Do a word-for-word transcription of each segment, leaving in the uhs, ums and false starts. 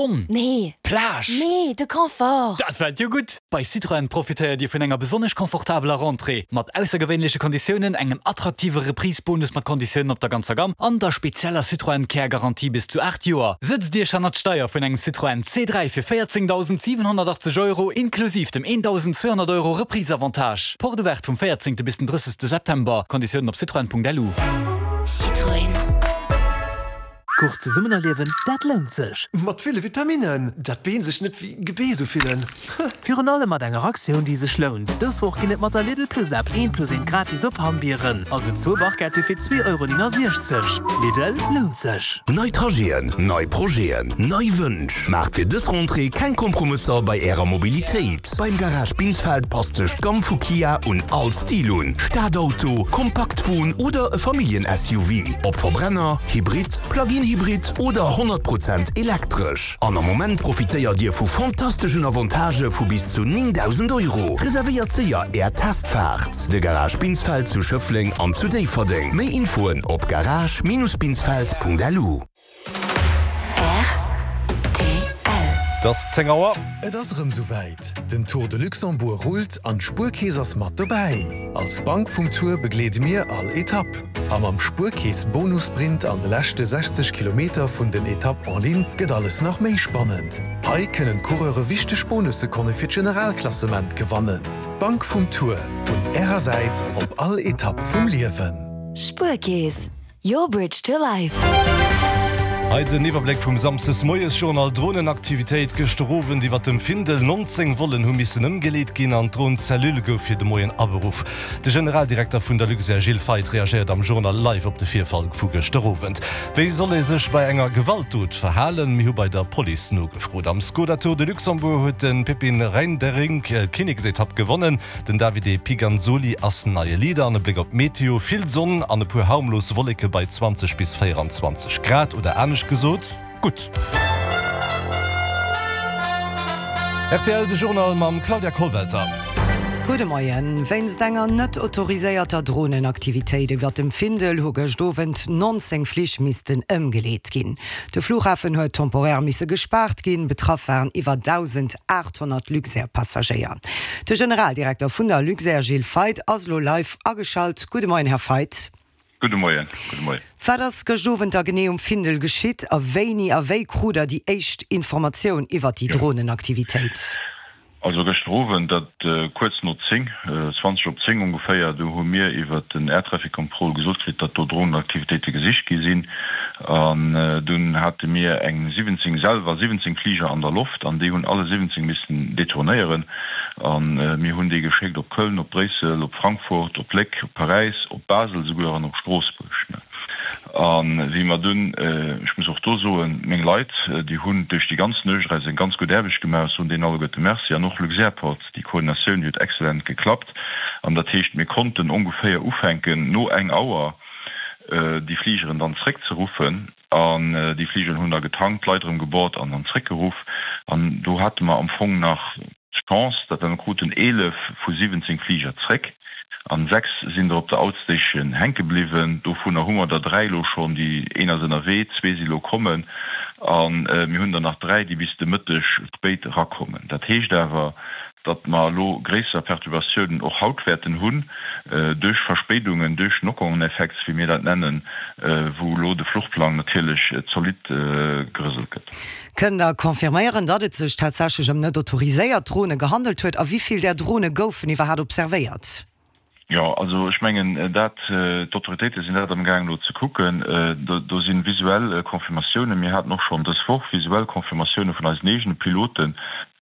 Sonn? Nee. Plage? Nee, de Confort. Dat fält jo gutt! Bei Citroën profitéiert Dir vun enger besonnesch confortabeler Rentrée, mat aussergewéinleche Konditiounen, engem attraktive Reprise-Bonus mat Konditiounen op der ganzer Gamm an der spezieller Citroën Care Garantie bis zu aacht Joer. Sëtzt Iech hannert d'Steier vun engem Citroën C dräi fir véierzéngdausendsiwenhonnertachtzeg Euro inklusiv dem eendausendzweehonnert Euro Reprise-Avantage. Porte ouverte vum véierzéngte bis den drëssegste September. Konditiounen op citroën.lu. Citroën. Course zesummen erliewen, dat lount sech! Mat ville Vitaminnen, dat d'Been sech net wéi Gebeess ufillen. Virun allem mat enger Aktioun, déi sech lount. Dës Woch ginn et mat der Lidl Plus App eent plus eent gratis op Hammbieren, also zwou Barquette fir zwee Euro néngasiechzeg. Lidl, lount sech! Nei Trajeten, nei Projeten, nei Wënsch. Maacht fir dës Rentrée keng Kompromësser bei Ärer Mobilitéit. Beim Garage Binsfeld passt sech d'Gamm vu Kia un all Stil un, Stadauto, Kompaktwon oder e Familljen-S U V. Ob Verbrenner, Hybrid, Plug-in Hybrid oder honnert Prozent elektresch. An am Moment profitéiert Dir vu fantasteschen Avantagë vu bis zu néngdausend Euro. Reservéiert séier Är Testfaart. De Garage Binsfeld zu Schëffleng an zu Déifferdeng. Méi Infoen op garage-binsfeld.lu. R T L. Et ass zéng Auer. Et ass erëm souwäit, Den Tour de Luxembourg rullt an d'Spuerkeess ass mat dobäi! Als Bank vum Tour begleede mir all Etapp. A mam Spuerkeess Bonussprint an de leschte sechzeg Kilometer vun den Etapp en ligne gëtt alles nach méi spannend. Hei kënnen d'Coureure wichteg Bonussekonne fir d'Generalklassement gewannen. D'Bank vum Tour, un Ärer Säit op all Etapp vum Liewen. Spuerkeess, your bridge to life. Hei den Iwwerbléck vum Samsdes-Moies-Journal, Dronenaktivitéit gëschter Owend iwwer dem Findel, nonzéng Vollen hu missen ëmgeleet ginn an d'Dron-Cellule gouf fir de Moien aberuff. De Generaldirekter vun der Luxair Gilles Feith reagéiert am Journal live op de Virfall vu gëschter Owend. Wéi soll ee sech bei enger Gewaltdot verhalen? Mir hu bei der Police nogefrot. Am Skoda Tour de Luxembourg huet de Pepin Reinderink d'Kinneksetapp gewonnen. Den Davide Piganzoli ass neie Leader. An e Bléck op d'Meteo, Vill Sonn an e puer harmlos Wolleke bei zwanzeg bis véieranzwanzeg Grad, oder anescht gesot, gutt. Rtl, De Journal mam Claudia Kollwelter. Gudde Moien. Wéinst enger net autoriséierter Dronenaktivitéit iwwer dem Findel hu gëscht Owend nonzéng Flich missten ëmgeleet ginn. De Flughafen huet temporär misse gespaart ginn. Betraff waren iwwer dausendaathonnert Luxair-Passagéier. De Generaldirekter vun der Luxair Gilles Feith ass elo live ageschalt. Gudde Moien, Här Feith. Gudde Moien. Gudde Moien. Wat ass gëscht Owend da genee um Findel geschitt a wéini a wéi krut der déi éischt Informatioun iwwer déi Dronenaktivitéit? Also gëschter Owend, dat kuerz no zéng, zwanzeg op zéng ongeféier, do hu mir iwwer den Air Traffic Control gesot kritt, datt do Dronenaktivitéite gesicht gi sinn. An dunn hate mir eng siwwenzéng, selwer siwwenzéng Fliger an der Loft an déi hunn alle siwwenzéng missen detournéieren. A mir hunn déi geschéckt op Köln, op Bréissel, op Frankfurt, op Léck, op Paräis, op Basel souguer an op Stroossbuerg. A wéi mer dunn, ech muss och do soen, meng Leit, déi hunn duerch déi ganz Nuecht eis eng ganz gutt Aarbecht gemaach, ech soen deenen alleguerte Merci, an och Luxairport, déi Koordinatioun, déi huet excellent geklappt. An dat heescht, mir konnten ongeféier ufänken, no eng Auer déi Fligeren dann zréckzeruffen. An déi Fligeren hunn da getankt, d'Leit erëm geboard an dann zréckgeruff. An do hate mer am Fong nach d'Chance, datt mer kruten eelef vu siwwenzéng Fliger zréck an sechs sinn der op der Outstation hänke bliwwen. Dovunner hu mer der dräi elo schonn, déi een ass ënnerwee, zwee si elo kommen a mir hunn der nach dräi, déi bis de Mëtteg spéit erakommen. Dat heescht awer, datt mer elo gréisser Perturbatiounen och haut wäerten hunn, duerch Verspéidungen, duerch Knock-on-Effects, wéi mir dat nennen, wou elo de Fluchplang natierlech zolidd gerëselt gëtt. Kënnt Der confirméieren, datt et sech tatsächlech ëm net autoriséiert Drone gehandelt huet? A wéi vill där Drone goufen iwwerhaapt observéiert? Jo, also ech mengen dat, d'Autoritéite sinn dat amgaang elo ze kucken. Do si visuell Confirmatiounen. Mir haten och schonn dës Woch visuell Confirmatioune vun eisen eegene Piloten.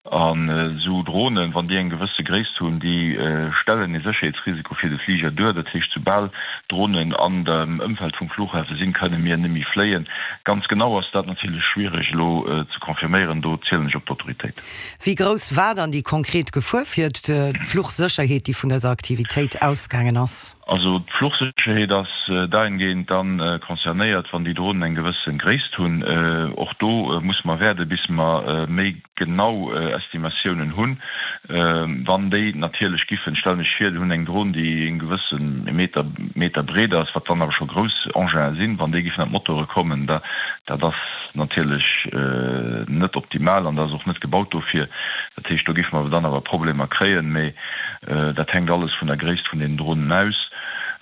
An esou Dronen, wann déi eng gewësse Gréisst hunn, déi stellen ee Sécherheetsrisiko fir de Fliger duer. Dat heescht, soubal Dronen an dem Ëmfeld vum Flughafe sinn, kënne mir net méi fléien. Ganz genau ass dat natierlech schwiereg elo ze confirméieren, do zielen ech op d'Autoritéiten. Wéi grouss war dann déi konkret Gefuer fir d'Fluchsécherheet, déi vun dëser Aktivitéit ausgaangen ass? Also d'Fluchsécherheet ass dahingehend dann concernéiert, wann déi Dronen eng gewësse Gréisst hunn. Och do musse mer wäerden, bis mer méi genau Estimatiounen hunn. Wann déi natierlech giffen, stellen ech vir, déi hunn eng Dron, déi e gewësse Meter, Meter breet ass, wat dann awer scho grouss Enginen sinn, wann déi giffen an d'Motore kommen, da, dat ass natierlech net optimal an dat ass och net gebaut dofir. Dat heescht, do giffe mer dann awer Problemer kréien, mee dat hänkt alles vun der Gréisst vun den Dronen aus.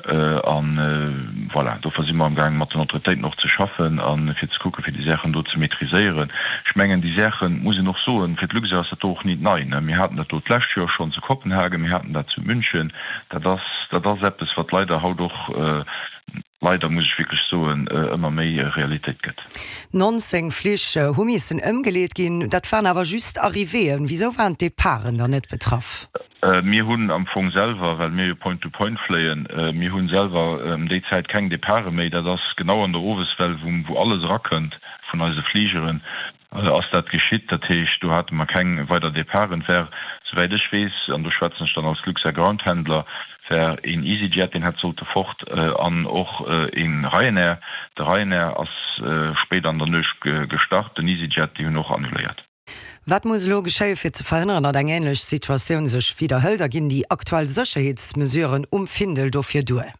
An voilà, dofir si mer amgaangen, mat den Autoritéiten och ze schaffen a fir ze kucken, fir déi Saachen do ze maîtriséieren. Ech mengen, déi Saachen, muss een och soen, fir d'Luxair ass dat do och nit nei. Mir haten dat do d'lescht Joer schonn zu Kopenhagen, mir haten dat zu München. Dat ass, dat ass eppes, wat leider haut och, leider muss ech wierklech soen, ëmmer méi Realitéit gëtt. Nonzéng Flich hu missen ëmgeleet ginn. Dat waren awer just Arrivéeën. Wisou waren d'Departen dann net betraff? Mir hunn am Fong selwer, well mir jo Point-to-Point fléien, mir hu selwer ëm déi Zäit keng Departe méi. Dat ass genau an der Oweswell, wou alles erakënnt vun eise Fligeren, ass dat geschitt. Dat heescht, do hate mer keng weider Departen. Et war, souwäit ech weess, an do schwätzen ech dann als Luxair Groundhandler, war een EasyJet, deen hätt sollte fort, an och ee Ryanair. De Ryanair ass spéit an der Nuecht gestart, den EasyJet, déi hunn och annuléiert. Wat muss elo geschéie fir ze verhënneren, datt eng änlech Situatioun sech widderhëlt a ginn déi aktuell Sécherheetsmesuren um Findel dofir duer?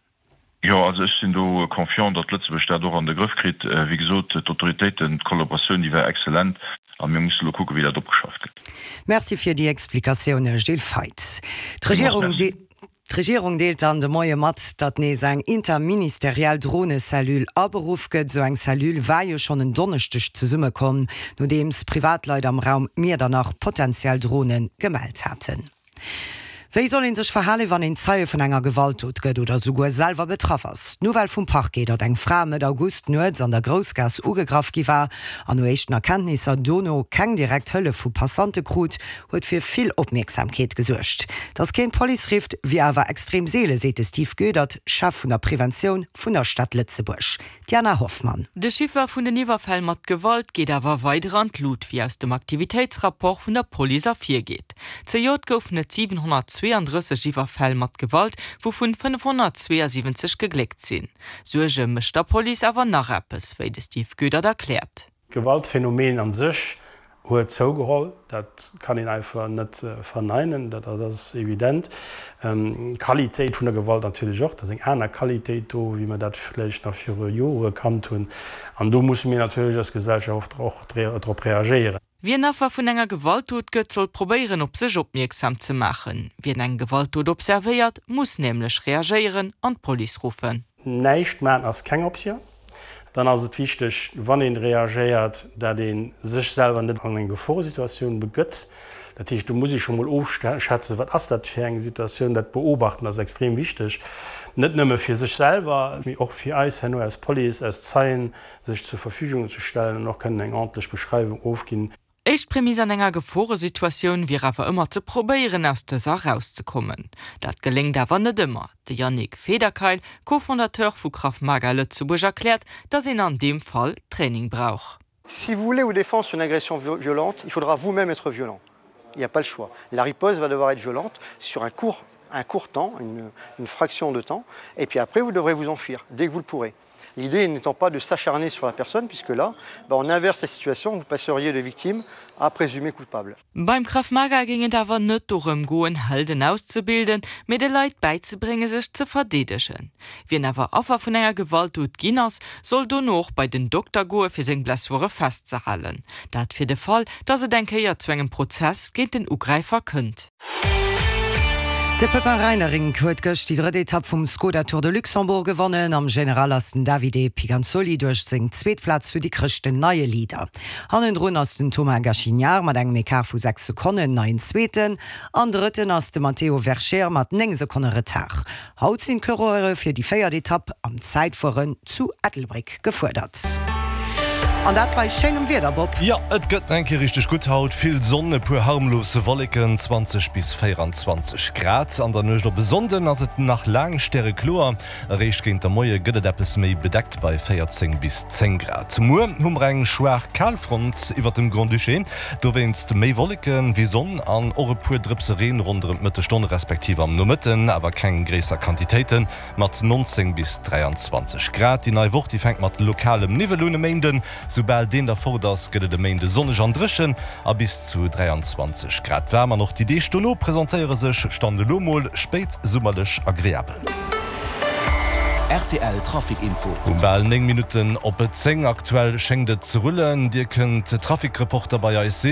Jo, also ech sinn do confiant, datt Lëtzebuerg dat och an de Grëff kritt. Wéi gesot, d'Autoritéiten, d'Kollaboratioun, déi war exzellent a mir musse elo kucken, wéi dat opgeschafft gëtt. Merci fir déi Explikatioune, Gilles Feith. D'Regierung. D'Regierung deelt dann de Moie mat, datt nees eng interministeriell Dronecellule aberuff gëtt. Esou eng Cellule war jo schonn en Donneschdeg zesummekomm, nodeems Privatleit am Raum Miedernach potentiell Drone gemellt haten. Wéi soll een sech verhalen, wann een Zeie vun enger Gewaltdot gëtt oder souguer selwer betraff ass? D'Nouvelle vum Parquet, datt eng Fra Mëtt August nuets an der Groussgaass ugegraff gi war an no éischten Erkenntnisser dono keng direkt Hëllef vu Passante krut, huet fir vill Opmierksamkeet gesuergt. Datt keen d'Police rifft, wier awer extrem seelen, seet de Steve Goedert, Chef vun der Preventioun vun der Stad Lëtzebuerg. D'Diana Hoffmann. De Chiffer vun den Iwwerfäll mat Gewalt geet awer weider an d'Lut, wéi aus dem Aktivitéitsrapport vun der Police ervirgeet. Zejoert goufen et siwenhonnertzweeandrësseg Iwwerfäll mat Gewalt, wouvun fënnefhonnertzweeasiwwenzeg gegléckt sinn. Suerge mécht der Police awer nach eppes, wéi de Steve Goedert erkläert. D'Gewaltphänomen a sech huet zougeholl, dat kann een einfach net verneinen, dat ass evident. D'Qualitéit vun der Gewalt natierlech och, dat ass eng aner Qualitéit do, wéi mer dat vläicht nach viru Jore kannt hunn. An do musse mir natierlech als Gesellschaft och drop reagéieren. Wien Affer vun enger Gewaltdot gëtt, soll probéieren, op sech opmierksam ze maachen. Wien eng Gewaltdot observéiert, muss nämlech reagéieren an d'Police ruffen. Näischt maachen ass keng Optioun. Dann ass et wichteg, wann ee reagéiert, dat ee sech selwer net an eng Geforesituatioun begëtt. Dat heescht, do muss ee scho mol ofschätzen, wat ass dat fir eng Situatioun. Dat Beobachten ass extrem wichteg, net nëmme fir sech selwer, mee och fir eis herno als Police, als Zeien sech zur Verfügung ze stellen an och kënnen eng ordentlech Beschreiwung ofginn. Éischt Prämiss an enger Geforesituatioun wier awer ëmmer ze probéieren, aus dëser erauszekommen. Dat geléngt awer net ëmmer. De Yannick Federkeil, Co-Fondateur vu Krav Maga Lëtzebuerg erkläert, datt een an deem Fall Training brauch. Si vous voulez vous défendre sur une agression violente, il faudra vous-même être violent. Il n'y a pas le choix. La riposte va devoir être violente sur un court, un court temps, une, une fraction de temps, et puis après vous devrez vous enfuir dès que vous le pourrez. L'idée n'étant pas de s'acharner sur la personne, puisque là, bah, on inverse la situation, vous passeriez de victime à présumé coupable. Beim Krav Maga géing et awer net dorëm goen, Helden auszebilden, mee de Leit bäizebrénge sech ze verdeedegen. Wien awer Affer vun enger Gewaltdot ginn ass, soll dono och bei den Dokter goe fir seng Blessure festzehalen. Dat fir de Fall, datt et eng Kéier zu engem Prozess géint den Ugräifer kënnt. De Pepin Reinering huet gëscht déi drëtt Etapp vum Skoda Tour de Luxembourg gewonnen. Am General ass den Davide Piganzoli duerch seng zweet Plaz zu Dikrech den neie Leader. Hannendrun ass den Thomas Gachignard mat engem Ecart vu sechs Sekonnen neien Zweeten an Drëtten ass de Matteo Vercher mat néng Sekonne Retard. Haut sinn d'Coureure fir déi véiert Etapp am Zäitfueren zu Ettelbréck gefuerdert. An dat bei schéinem Wieder, Bob. Jo, et gëtt nach eng Kéier richteg gutt haut. Vill Sonn, e puer harmlos Wolleken, zwanzeg bis véierundzwanzeg Grad. An der Nuecht op e Sonnden ass et nach laang stärekloer, eréischt géint der Moie gëtt et eppes méi bedeckt bei véierzéng bis zéng Grad. Muer hu mer eng schwaach Kalfront iwwert dem Grand-Duché, dowéinst méi Wolleke wéi Sonn an och e puer Drëpse Reen ronderëm d'Mëttesstonn respektiv am Nomëtten, awer keng gréisser Quantitéiten, mat nonzéng bis dräianzwanzeg Grad. Déi nei Woch, déi fänkt mat lokalem Niwwel un. E Méinden Soubal deen da fort ass, gëtt et e Méinde sonneg an dréchen a bis zu dräianzwanzeg Grad waarm. An och déi Deeg dono presentéiere sech, Stand elo mol, spéitsummerlech agreabel. Rtl Trafic Info. Um bal néng Minutten op zéng. Aktuell schéngt et ze rullen. Dir kënnt Trafic-Reporter bei eis sinn.